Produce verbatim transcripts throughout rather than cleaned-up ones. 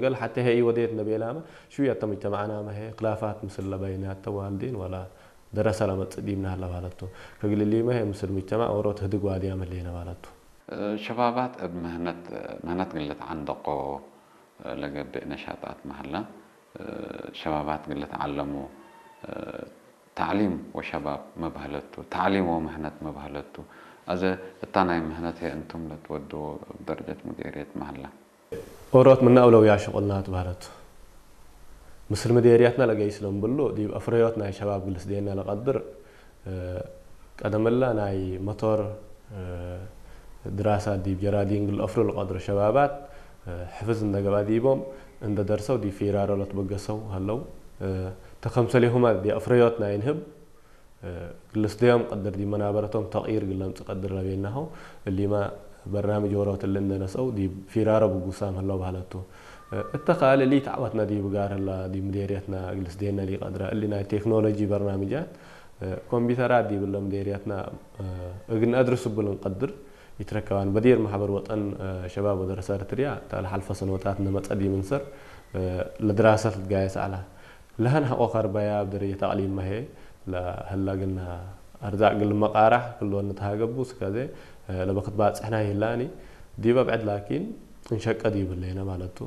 ገል ሐቴ ህይ ወዴት እንዴ ቤላመ፣ ሽውየተ ሙጅተማዕናመ ህይ ክላፋት ምስል ለበይናተ ዋልዲን ወላ ደረሰ ለመጽእ ዲብነ ሀለ ባለቱ። ከእግል እሊመ ህይ ምስል ሙጅተማዕ ዎሮት ህድግ ዋድያም ህሌነ ባለቱ። ሸባባት እብ ምህነት፣ ምህነት እግል ልትዓንደቆ ለገብእ ነሻጣት መሀላ፣ ሸባባት እግል ልትዓለሙ፣ ተዕሊም ወሸባብ መብሀለቱ፣ ተዕሊም ወምህነት መብሀለቱ። አዜ እታ ናይ ምህነት ህይ እንቱም ለትወድዎ እብ ደረጀት ሙዴርየት መሀላ። ኦሮት ምነ አውለውያ ሽቁልና ትበህለት። ምስል ምዴርየትና ለገይስ ለእምብሉ፣ ዲብ አፍረዮት ናይ ሸባብ ግልስ ዴና ለቀድር፣ እ፣ ቀደምላ ናይ መቶር፣ እ፣ ድራሳት ዲብ ጀራዲን እግል አፍሩ ለቀድሩ ሸባባት፣ እ፣ ሕፍዝ እንደ ገብአ ዲቦም እንደ ደርሰው ዲብ ፊራሮ ለትበገሰው ሀለው። እ፣ ተከምሰሌሁመ ዲብ አፍረዮት ናይ እንህብ፣ ግልስ ደዮም ቀድር ዲብ መናበረቶም ተቅይር እግል ለምጽእ ቀድር ለቤልናሁ፣ እሊመ በርናምጅ ዎሮት እሊ እንዴ ነስአው ዲብ ፊራሮ ብጉሳም ህለው በህለቱ። እተ ካልእ ሊት ዐወትነ ዲብ ጋር ህላ ዲብ ምዴርየትና ግልስ ዴነ ሊቀድረ። እሊ ናይ ቴክኖሎጂ በርናምጃት፣ ኮምፒተራት ዲብ እለ ምዴርየትና እግል ነአድርስ እቡ ልንቀድር ኢትረከባን። በዲር መሕበር ወጠን ሸባብ ወደረሰ እርትርያ እተ ለሐልፈ ሰኖታት እንዴ መጸ ዲብ እንሰር ለድራሰት ልትጋየስ ዐለ። ለሀን ሐቆ ከርበያ እብ ደረጀት አቅሊምመ ህዬ ለህለ እግልነ አርዛቅ እግል ልመቃራሕ ክልኦን ንትሃገቡ ስከዜ ለበክት ባጽሕና ይህላኒ። ዲበ ብዕድ ላኪን እንሸቀ ዲብ ህሌነ ማለቱ።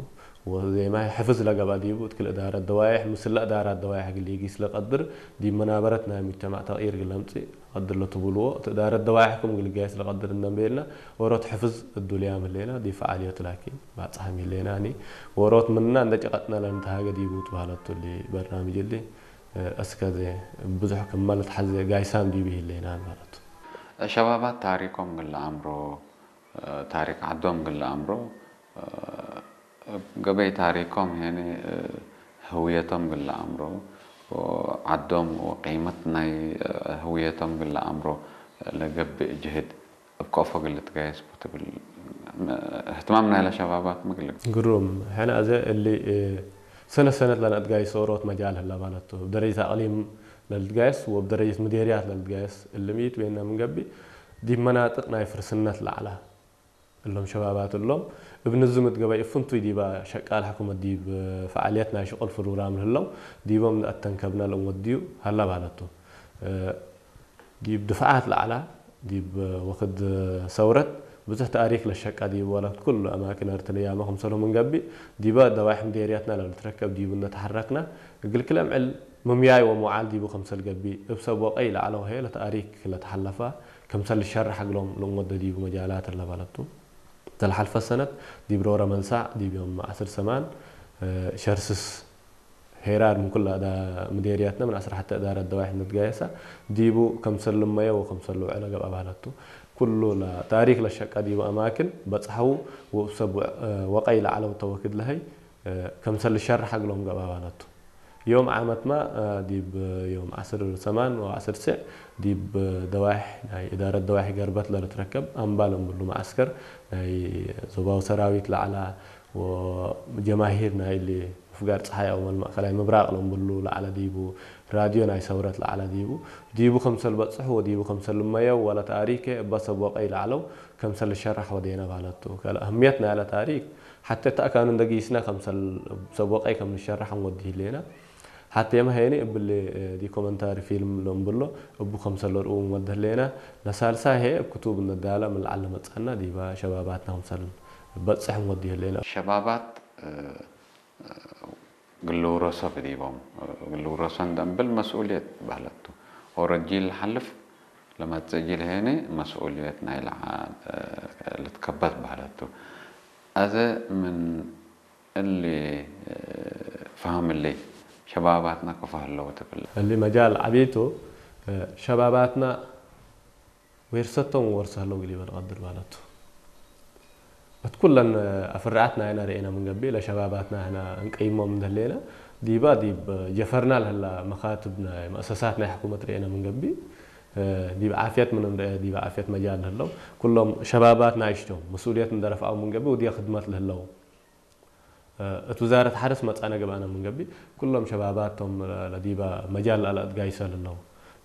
ወዜማይ ሕፍዝ ለገብአ ዲቡ እት ክል እዳረት ደዋይሕ ምስለ እዳራት ደዋይሕ እግል ኢጊስ ለቀድር ዲብ መናበረት ናይ ሙጅተማዕ ተቅይር እግል ለምጽእ ቀድር ለትቡልዎ እት እዳረት ደዋይሕ ክም እግል ጋይስ ለቀድር እንዴ ቤልነ ዎሮት ሕፍዝ እዱልያም ህሌነ ዲብ ፈዓልዮት ላኪን ባጽሓም ይህሌናኒ። ዎሮት ምንና እንዴ ጨቀጥነ ለንትሃገ ዲቡ ትበህለቱ እሊ በርናምጅ እሊ። አስከ ዘ ብዙሕ ክመ ለትሐዜ ጋይሳም ዲብ ይህሌናን ማለቱ። ሸባባት ታሪኮም እግል ለአምሮ፣ ታሪክ ዐዶም እግል ለአምሮ፣ እብ ገበይ ታሪኮም ሄኒ ህውየቶም እግል ለአምሮ፣ ወዐዶም ወቂመት ናይ ህውየቶም እግል ለአምሮ ለገብእ ጅህድ እብ ከአፎ እግል ልትጋየስ ቡ ትብል እህትማም ናይለ ሸባባት ምግል። ግሩም። ሕነ አዜ እሊ ሰነት ሰነት ለነአትጋይሶ ዎሮት መጃል ህለ ማለቱ። እብ ደረጀት አቅሊም ለልትጋየስ ወእብ ደረጀት ምዴርያት ለልትጋየስ እሊ ሚ ቱ ቤነ ምን ገብእ፣ ዲብ መናጥቅ ናይ ፍርስነት ለዐለ እሎም ሸባባት እሎም እብ ንዝም እት ገበይ እብ ፍንቱይ ዲበ ሸቃል ሕኩመት ዲብ ፈዓልየት ናይ ሽቁል ፕሩግራም ለህለው ዲቦም ነአተንከብነ ለእንወድዩ ሀለ ማለቱ። ዲብ ድፍዓት ለዐላ፣ ዲብ ወክድ ሰውረት ብዙሕ ተእሪክ ለሸቀ ዲብ ወለት ኩሉ አማክን እርትርያመ ክምሰልሁ ምን ገብእ፣ ዲበ ደዋይሕ ምዴርያትና ለልትረከብ ዲቡ እንዴ ተሐረክነ፣ እግል ክለ ምዕል ምምያይ ወመዋዓል ዲቡ ክምሰል ገብእ፣ እብ ሰብ ወቀይ ለዐለው ህዬ ለተእሪክ ለተሐለፈ ክምሰል ልሸረሕ እግሎም ለእንወደ ዲቡ መጃላት እለ በለቱ። እተ ለሐልፈ ሰነት ዲብ ሮረ መንሳዕ ዲብ ዮም ዐስር ሰማን ሸርስስ ሄራር ምን ኩለ ምዴርያትነ ምን ዐስር ሐቴ እዳረት ደዋይሕ እንዴ ትጋየሰ፣ ዲቡ ከምሰል ልመየ ወከምሰል ልውዐለ ገብአ በህለቱ። ኩሉ ለታሪክ ለሸቀ ዲቡ አማክን በጽሐው ወእብ ሰብ ወቀይ ለዐለው ተወክድ ለሀይ ከምሰል ልሸረሕ እግሎም ገብአ በህለቱ። ዮም ዓመትመ ዲብ ዮም ዐስር ሰማን ወዐስር ስዕ ዲብ ደዋይሕ ናይ እዳረት ደዋይሕ ገርበት ለልትረከብ አምባል እምብሉ መዐስከር ናይ ዞባዊ ሰራዊት ለዐላ ወጀማሂር ናይ እሊ ምፍጋር ጸሓይ አው መልማእ ከላይ ምብራቅ ለእምብሉ ለዐለ ዲቡ፣ ራድዮ ናይ ሰውረት ለዐለ ዲቡ፣ ዲቡ ከምሰል በጽሑ ወዲቡ ከምሰል ልመየው ወለተአሪኬ እበ ሰብ ወቀይ ለዐለው ከምሰል ልሸራሕ ወዴነ በህለቱ። ከለ አህምየት ናይለ ታሪክ ሐቴ ተአካኑ እንዴ ጊስነ ከምሰል ሰብ ወቀይ ከም ንሸራሕ እንወዲ ህሌነ። ሐቴመ ሄኒ እብሊ ዲኮመንታሪ ፊልም ለእምብሎ እቡ ከምሰል ለርኡ እንወዲ ህሌነ። ለሳልሳይ ህዬ እብ ክቱብ እንዴ ዳለ ምን ለዐል ለመጽአነ ዲበ ሸባባትነ ከምሰል በጽሕ እንወዲ ህሌነ። ሸባባት እግል ልውረሶ ብዲቦም፣ እግል ልውረሶ እንዴ እምብል መስኡልየት በህለቱ። ኦሮ ጂል ለሐልፍ ለመጽእ ጂል ሄኒ መስኡልየት ናይ ለዓል ልትከበት በህለቱ። አዜ ምን እሊ ፈሀም እሊ ሸባባትና ክፎ ህለው ትብል። እሊ መጃል ዐቢ ቱ። ሸባባትና ዌርሰቶም ወርሰ ህለው እግል ኢበል ቀድር በህለቱ። እት ኩለን አፍርዓት ናይነ ርኤነ ምን ገብእ፣ ለሸባባትና ህነ እንቀይሞም እንዴ ህሌነ፣ ዲባ ዲብ ጀፈርና ለህላ መካትብ ናይ መአሰሳት ናይ ሕኩመት ርኤነ ምን ገብእ፣ ዲብ ዓፍየት ምን እንርኤ፣ ዲብ ዓፍየት መጃል ለህለው፣ ኩሎም ሸባባት ናይሽ ቶም፣ መስኡልየት እንዴ ረፍዐው ምን ገብእ፣ ወዲየ ክድመት ለህለው፣ እት ውዛረት ሐርስ መጽአነ ገብአነ ምን ገብእ፣ ኩሎም ሸባባት ቶም ለዲበ መጃል ለአትጋይሰ ለህለው።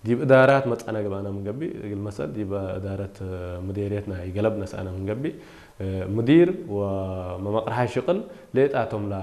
ዲብ እዳራት መጽአነ ገብአነ ምን ገብእ፣ እግል መሰል ዲብ እዳረት ምዴርየት ናይ ገለብ ነስአነ ምን ገብእ፣ ምዲር ወመመቅርሓይ ሽቅል ሌጣቶም ለ